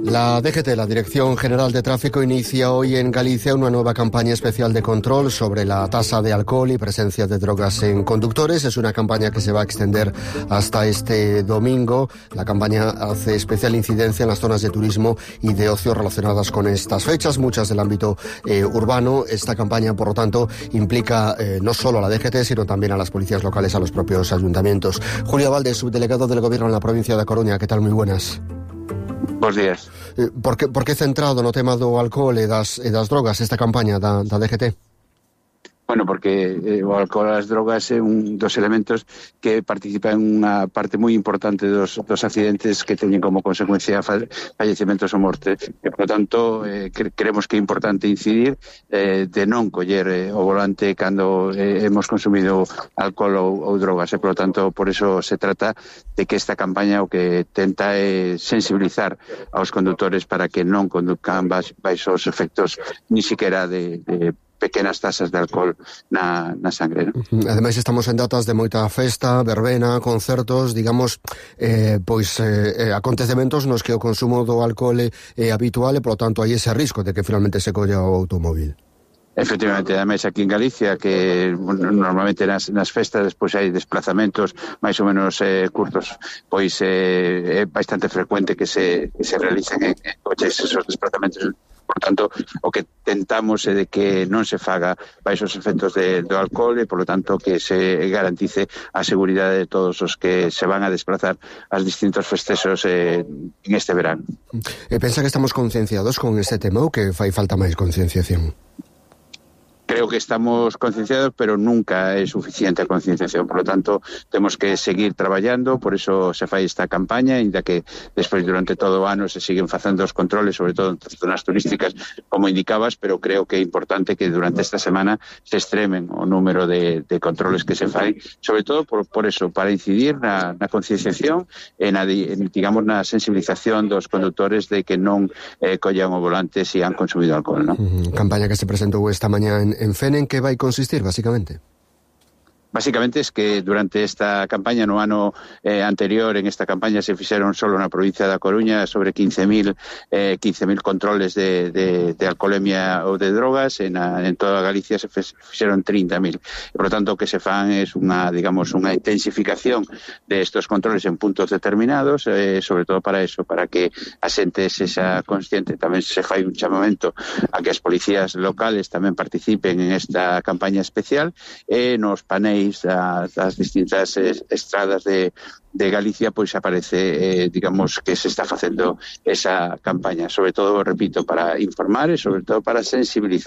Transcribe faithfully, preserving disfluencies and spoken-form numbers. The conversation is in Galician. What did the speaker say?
La D G T, la Dirección General de Tráfico, inicia hoy en Galicia una nueva campaña especial de control sobre la tasa de alcohol y presencia de drogas en conductores. Es una campaña que se va a extender hasta este domingo. La campaña hace especial incidencia en las zonas de turismo y de ocio relacionadas con estas fechas, muchas del ámbito eh, urbano. Esta campaña, por lo tanto, implica eh, no solo a la D G T, sino también a las policías locales, a los propios ayuntamientos. Julio Valdés, subdelegado del Gobierno en la provincia de Coruña. ¿Qué tal? Muy buenas. Bos días. Eh, por, que, por que centrado no tema do alcohol e das, e das drogas esta campaña da, da D G T? Bueno, porque eh, o alcohol e as drogas é un dos elementos que participa en unha parte moi importante dos, dos accidentes que teñen como consecuencia fallecimentos ou morte. E, por lo tanto, eh, cre creemos que é importante incidir eh, de non coller eh, o volante cando eh, hemos consumido alcohol ou, ou drogas. E, por lo tanto, por eso se trata de que esta campaña o que tenta é sensibilizar aos condutores para que non conduzcan baixo os efectos ni siquiera de, de pequenas tasas de alcohol na, na sangre, ¿no? Ademais, estamos en datas de moita festa, verbena, concertos, digamos, eh, pois eh, acontecementos nos que o consumo do alcohol é, é habitual e, por lo tanto, hai ese risco de que finalmente se colla o automóvil. Efectivamente, ademais aquí en Galicia, que bueno, normalmente nas, nas festas despois hai desplazamentos máis ou menos eh, curtos, pois eh, é bastante frecuente que se, que se realicen en, en coches esos desplazamentos. Por tanto, o que tentamos é de que non se faga baixo os efectos de, do alcohol e, por lo tanto, que se garantice a seguridade de todos os que se van a desplazar aos distintos festexos eh, en este verano. E pensa que estamos concienciados con este tema ou que fai falta máis concienciación? Creo que estamos concienciados, pero nunca é suficiente a concienciación. Por lo tanto, temos que seguir traballando, por eso se fai esta campaña, ainda que despois durante todo o ano se siguen facendo os controles, sobre todo en zonas turísticas, como indicabas, pero creo que é importante que durante esta semana se extremen o número de, de controles que se fai, sobre todo por, por eso, para incidir na, na concienciación e na, en, digamos, na sensibilización dos condutores de que non eh, collan o volante se han consumido alcohol, ¿no? Uh-huh. Campaña que se presentou esta mañá en en Fene, en que vai consistir, basicamente? Básicamente es que durante esta campaña, no ano eh, anterior, en esta campaña se fixeron solo na provincia da Coruña sobre quince mil eh, quince mil controles de, de, de alcoholemia ou de drogas, en, a, en toda Galicia se fixeron trinta mil. Por lo tanto, o que se fan é unha, digamos, unha intensificación de estos controles en puntos determinados, eh, sobre todo para eso, para que a xente se xa consciente. Tamén se fai un chamamento a que as policías locales tamén participen en esta campaña especial e nos paneis das, das distintas estradas de, de Galicia, pois aparece, eh, digamos, que se está facendo esa campaña, sobre todo, repito, para informar e sobre todo para sensibilizar